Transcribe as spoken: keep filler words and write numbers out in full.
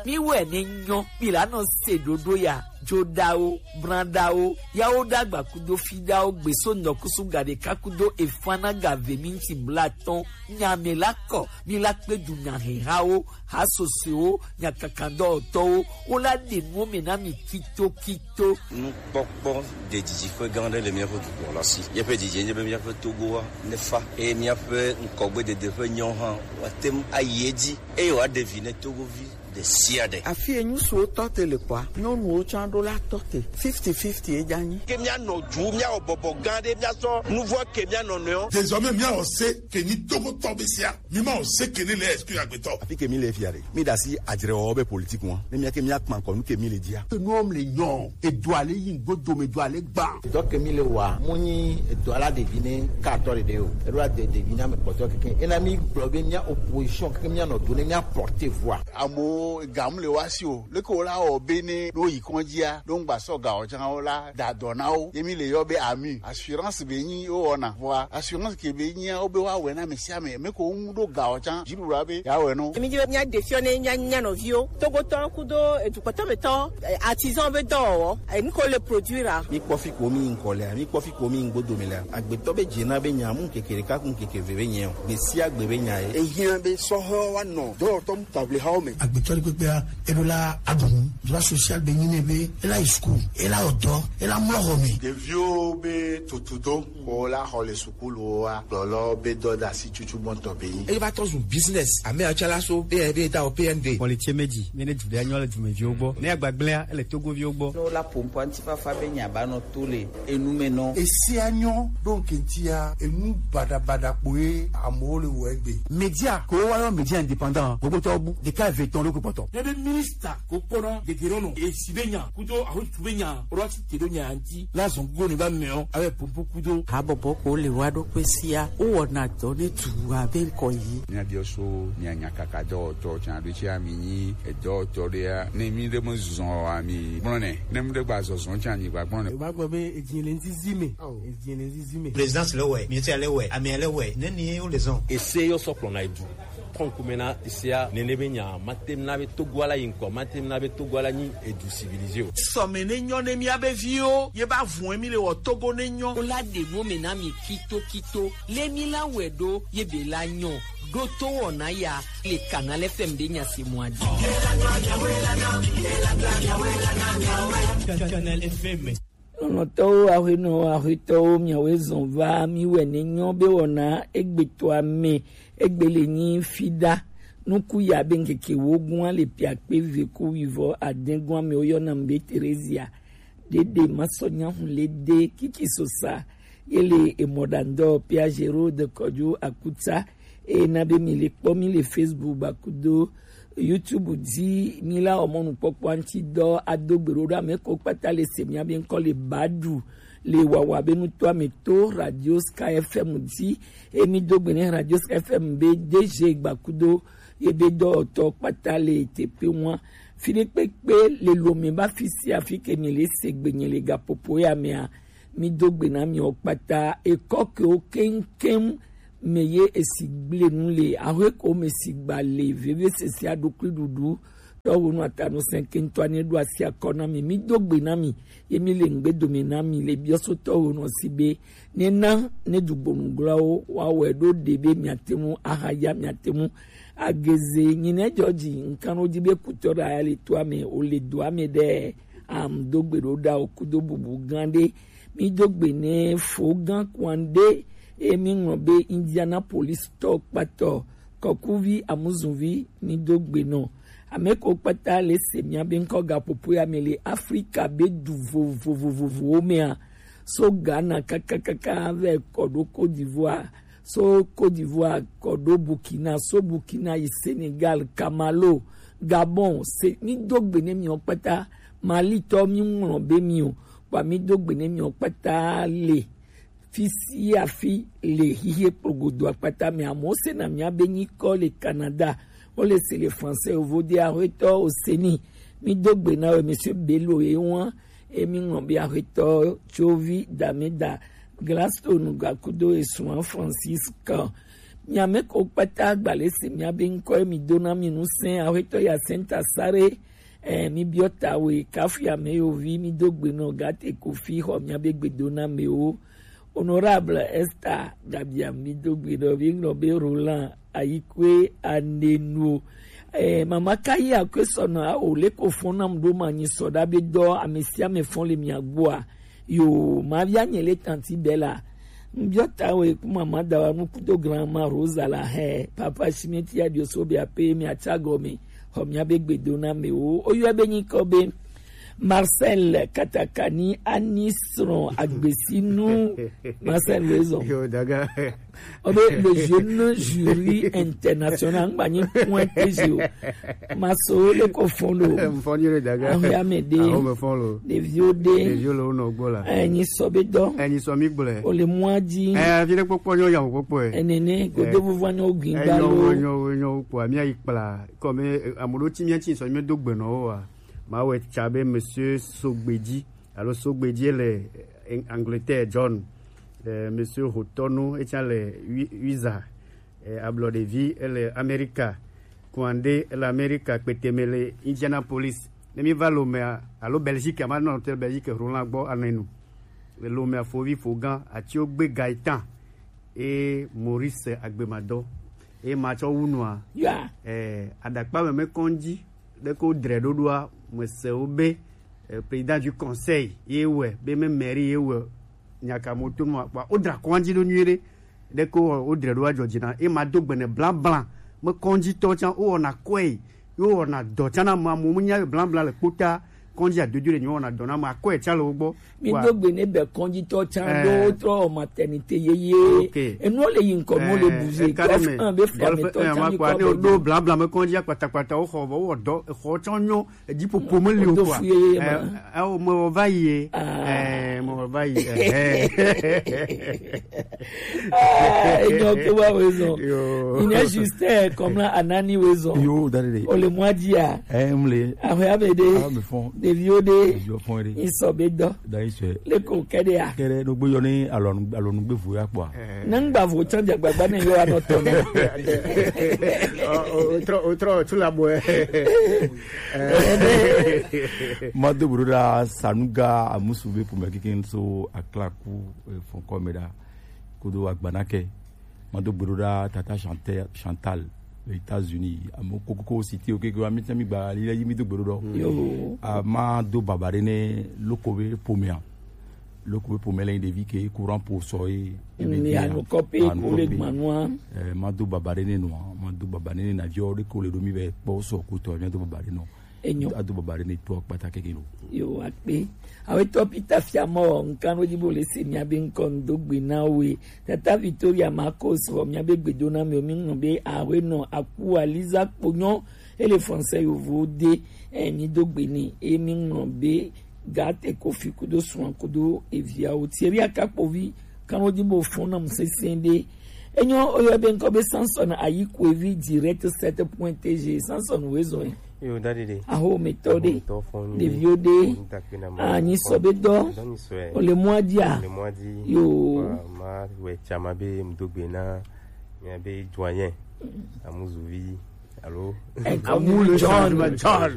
Mi wɛ ne nyɔ, mi la nɔ se ɖoɖo ya, joɖawo, branɖawo, yawo ɖagba kudo fiɖawo gbeso nɔkusu gaɖeka kudo efana gave minti blatɔn, nya me la kɔ, mi la kpe du nya hehawo, ha sosoewo, nya kakandɔtɔwo, wo la ɖe nuwo me na mi kito kito. Nukpɔkpɔ ɖe didiƒe gã aɖe le míaƒe dukɔ la si. Míaƒe didi nye be míaƒe Togoa nefa eye míaƒe ŋkɔgbedede ƒe nyawo hã woate ŋu ayi edzi eye wòaɖe vi ne Togovi ɖe sia ɖe. Afi yi ŋutsuwo tɔ te le kɔa, nyɔnuwo tsã ɖo la tɔ te. Fifty fifty ye dza nyi. Ke míanɔ du, míawɔ bɔbɔ gã aɖe, míasɔ nu vɔ̃ ke mía nɔnɔewo. Désormais, míawɔ se ke nyi Togotɔ be sia. Mi ma o se ke ne le exclu agbetɔ. Afi ke mi le fia ɖe, mi ɖe asi adzrewɔwɔ be politique ŋua. Ne mía ke mía kpa ŋkɔ nu ke mi le dzia. Enuwo le nyɔ, edo ale yi ŋgbo dome do ale gba. Dɔ ke mi le wa, mo nyi edo ala ɖevi ne ka atɔ ɖeɖe o. Eɖo ade ɖevi na me kpɔtɔ keke. Ena mi gblɔ be mía opposition keke mía nɔ do ne mía porter voix. Amewo ga mu le wa si o. Leke wo la wɔ be ne ɖo yi kɔndzia, ɖo ŋgba sɔ ga o tsã wo la da dɔ na wo. Ye mi le yɔ be ami. Assurance be nyi wo wɔna. Vɔa assurance ke be nyia wo be wa wɛ na me sia me. Me ko ŋu ɖo ga o tsã. Dziɖuɖua be ya wɛ no. Mi di be mía de fiɔ ne mía nya nɔviwo. Togotɔ kudo edukpɔtɔ me tɔ, eh, artisan be dɔwɔwɔ. Eh, nu ko le produire a. Mi kpɔ fi ko mi ŋkɔ lea, mi kpɔ fi ko mi ŋgbo dome lea. Agbetɔ be dze na be nya mu keke ɖeka ku keke ve be nyɛ o. Gbe sia gbe be nya ye. Ehiã be sɔhɔ wa nɔ dɔwɔtɔ Table hawo me. Agbetɔ ɖe kpekpea, eɖo la aɖu nu. Droit social be nyi nɛ be ela yi school, ela wɔ dɔ, ela mlɔ xɔ me. Ɖeviwo be tutudo ko la xɔ le sukuluwoa, kplɔlɔ be dɔdasi tutu gbɔntɔ be nyi. Eye va tɔ zu business. Ame atsalaso be be ta o P N D. Xɔ le tse me dzi, ne ne du ɖe anyɔ le dumeviwo gbɔ. Ne agbagblẽa, ele togoviwo gbɔ. Ne wola ƒo ŋkɔ ŋutifafa be nya ba nɔ to le enu me nɔ. Esia nyɔ ɖo ŋkɛntia, enu baɖabaɖa kpoe amewo le wɔ egbe. Media ko wa yɔ media indépendant, gbogbo tɔ bu ɖeka eve tɔn ɖo kpɔtɔ. Ne be minista ko kpɔna gegere nɔ, esi be nya, kudo ahotu be nya, ro asi te ɖo nya ŋuti, la zɔn go ne ba mɛ o, abe pompo kudo. Habɔbɔ ko le wa ɖo kpe sia, wo wɔna dɔ ne tu abe ŋkɔ yi. Mía biɔ so, mía nya kaka dɔwɔtɔ tsa ɖo tsi ami nyi, edɔwɔtɔ ɖea, ne mi ɖe me zɔn ami gblɔ nɛ, ne mi ɖe gba zɔzɔn tsa mi gba gblɔ nɛ. Eva gblɔ be edzi le ŋdi zi me. Edzi le ŋdi zi me. Présidence le wɛ, ministère le wɛ, amea le wɛ, ne ni wo le zɔn. Ese yɔ sɔ kplɔna edu. Kɔnkume na esea, nene be nya, mate na be Togo ala yi ŋkɔ, mate na be Togo ala nyi edu civilisé o. Sɔme ne nyɔ ne mía be viwo, ye ba vun mi le wɔ Togo ne nyɔ. Wo la ɖe mo me na mi kito kito, le mi la wɛ ɖo, ye be la nyɔ, ɖo to wɔna ya, le Canal F M be nya se mɔ adi. Canal F M. Nɔnɔtɔwo, aƒenɔ, aƒetɔwo, miawoe zɔn va mi wɛ ne nyɔ be wɔna egbetɔa me, egbe le nyi fiɖa. Nuku ya be ŋkeke wogun ale pia kpe ve ku wivɔ adɛgun amewo yɔna be Terezia. Ɖeɖe masɔ nyahu le de kiki sosa ye le emɔɖandɔ Pia Gerode Kɔdzo Akuta. Eye na be mi le kpɔ mi le Facebook ba kudo YouTube dzi, mi la wɔ mɔnukpɔkpɔ ŋuti dɔ ado gbe ɖo ɖo ame ko kpata le se mia be ŋkɔ le Badu le wawa be nutɔ ame to Radio Sky F M dzi. Eye mi do gbe ne Radio Sky F M be D G gba kudo ye be dɔwɔtɔ kpata le teƒe ŋua. Fi ɖe kpekpe le lome ba fi sia fi ke mi le se gbe nye le gaƒoƒo ya mea, mi do gbe na miwo kpata, ekɔ kewo keŋkeŋ me ye esi gble nu le, ahwe ko me si gba le, veve sese aɖukli ɖuɖu, tɔwo nu atanu sɛnkentɔ ne ɖo asi akɔ na mi, mi do gbe na mi, ye mi le ŋgbe dome na mi le biɔsotɔwo nɔ si be, ne na, ne dugbonugblɔwo, wa wɛ ɖo ɖe be miate ŋu ahaya, miate ŋu ageze, nyi ne dzɔ dzi, ŋkan wo dzi be kutɔ ɖe aya le toa me, o le doa me ɖe, am do gbe ɖo ɖa o kudo bubu gã ɖe, Mi do gbe ne fo gã kwan ɖe, eye mi ŋlɔ be Indianapolis tɔ kpatɔ, kɔkuvi, amuzunvi, mi do gbe nɔ. Ame ko kpata le se mia be ŋkɔ gaƒoƒo ya me le Afrika be du vovovovovowo mea. So Ghana kakakaka vɛ kɔ ɖo Côte d'Ivoire, so Côte d'Ivoire kɔ ɖo Burkina, so Burkina yi Senegal, Kamalo, Gabon, se mi do gbe ne miwo kpata, Mali tɔ mi ŋlɔ be mi o. Kpa mi do gbe ne miwo kpata le fi sia fi le xixi kplogodo akpata me. Amewo sena mia be nyikɔ le Canada, wo le se le français, yovo de axwetɔ Oseni. Mi do gbe na we, Monsieur Bello ye wa, e mi ŋlɔ be axwetɔ Tsovi Dameda, Gladstone Gakudo esua Francis kan. Miame ko kpata gbalese miabe ŋkɔ ye mi dona mi nusẽ, aƒetɔ ya senta sare. Eh, mi biɔ ta we kafu ya me yo vi mi do gbe nɔ gate kofi xɔ miabe gbe dona me o. Honorable Esther Gabia mi do gbe nɔ vi ŋlɔ be Roland Ayikwe Anenu. Eh, mama ka yi akwe sɔnɔ a o le ko fɔn nam do ma nyi sɔ da be dɔ amesiame fɔn le mia gbɔa. Yo, ma via nye le tanti Bella. Mbiɔ ta we ku mama da wa nuku do grandma Rosa la he. Papa Shimeti ya dio so be ape mi acha gome. Ho mi abe gbe do na me o. O yo abe nyi ko be. Marcel Katakani Ani sron agbesinu. Marcel Wezon. Yo, daga. Obe le jeune jury international ngba nyi point T G o. Maso le ko fɔn lo. Mfɔn yo le daga. Aho ya me de. Aho me fɔn lo. Ɖeviwo de. Ɖeviwo le wo nɔ gbɔ la. Enyi sɔ be dɔ. Enyi sɔ mi gblɛ. O le mɔa dzi. Eh, afi ɖe kpɔkpɔ nyɔ ya kpɔkpɔ ye. Enene godo vuvu anyo gbin gba lo. Enyo, enyo, enyo kpɔ mi ayi kpla. Comme, eh, amoɖo ti mi ti sɔ mi do gbe nɔ wo wa. Ma wɛ tsa be monsieur Sogbedzi. Alo Sogbedzi le, eh, Angleterre, John, eh, Monsieur Hotonu, etsa le Wi-, Wiza, eh, ablɔ ɖevi ele Amerika, Kuande ele Amerika, kpeteme le Indianapolis. Ne mi va Lomea, alo Belgique, ama nɔ te Belgique, Roland gbɔ anenu. Le Lomea fovi fogan, ati o gbe Gaetan, e Maurice Agbemadɔ, e ma tsɔ wu nua. Ya. Eh, adakpa me me kɔndzi, ɖe ko dre ɖoɖoa, me se wo be, eh, président du conseil ye wɛ, be me mairie ye wɛ, nyaka mo to nua, kpa o dra kɔndzi ɖo nyuie ɖe, ɖe ko o dre ɖoa dzɔ dzi na, e ma do gbene blanc blanc, me kɔndzi tɔ tsan, o wɔna kɔe, yo wɔna dɔ tsan na ma mo, mo nya blanc blanc le kpota, kɔndzi adodo le nyo wɔna dɔ na ma, kɔe tsan le wo gbɔ. Mi do gbe ne be kɔnjitɔ tsan ɖo wotrɔ wɔ maternité yeye. Ok. Enuwo le yi ŋkɔ, nuwo le bouger. Golf un be fiametɔ tsan mi kɔ ne do blabla me kɔnji akpatakpata wo xɔ vɔ wo dɔ xɔ tsɔ nyo, edzi popo me li o kɔa. Wodo fu yeye ma. Eh, eh, o me wo va yi ye. Eh, me wo va yi. Eh. Ah, enyo ke wa wezɔn. Yo. Il est juste, eh, comme là, Anani wezɔn. Yo, dade de. O le mwa dia. Eh, mle. Ahwe abede. Ah, me fond. Ɖeviwo ɖe. Ɖeviwo fɔn ɖe. Isɔ be dɔ. Da isɔ. Le ko kɛɖe ya. Kɛɖe ɖo gbe yɔ ni alɔnu, alɔnu gbe vo ya kpɔa. Ne ŋgba vo tsɔ dze gbagba ne yɔ anɔ tɔ ne. O, o, trɔ, o, trɔ, tu la boɛ. Ma do bro da Sanuga Amusu be pour me kikin so aklaku, eh, fɔn kɔ me da. Kodo agbanake. Ma do gbe ɖo ɖa tata Chantal, Chantal, le États-Unis. Ame kokoko cité o keke wa mi tsa mi gba li la yi mi do gbe ɖo ɖɔ. Yo. A ma do baba ɖe ne loko be pomea. Loko be pomea le ɖevi ke courant po sɔ ye. Mi anu kɔpe ko le gbanua. Eh, ma do baba ɖe ne nua, ma do baba ɖe ne na viɔ ɖe ko le ɖo mi be kpɔ sɔ ko tɔ mi do baba ɖe nɔ. Enyo. Ado baba ɖe ne tɔ kpata keke lo. Yo, akpe. Awetɔ Peter Fiamɔ, nkan wo dzi bo le se mia be ŋkɔ ŋdo gbe na we. Tata Victoria Marcos, vɔ mia be gbedo na mi o, mi ŋlɔ be awe nɔ aku Aliza kponyo, ele français yovo de, eh, mi do gbe ni, e mi ŋlɔ be gate kofi kudo suan kudo eviawo. Thierry Akakpovi, kan wo dzi bo fɔn na mu sese de. Enyo, oyo be ŋkɔ be Samson Ayikwevi direct sept point T G. Samson wezɔn. Yo, dadi de. Aho metɔ de. Aho metɔ fɔn ni. Ɖeviwo de. Anyi sɔ be dɔ. Dɔ ni sɔ. O le mɔa dia. O le mɔa di. Yo. Wa, ma wɛ tsama be mdo gbe na. Mia be joanye. Amuzuvi. Alo. Amu le John. John.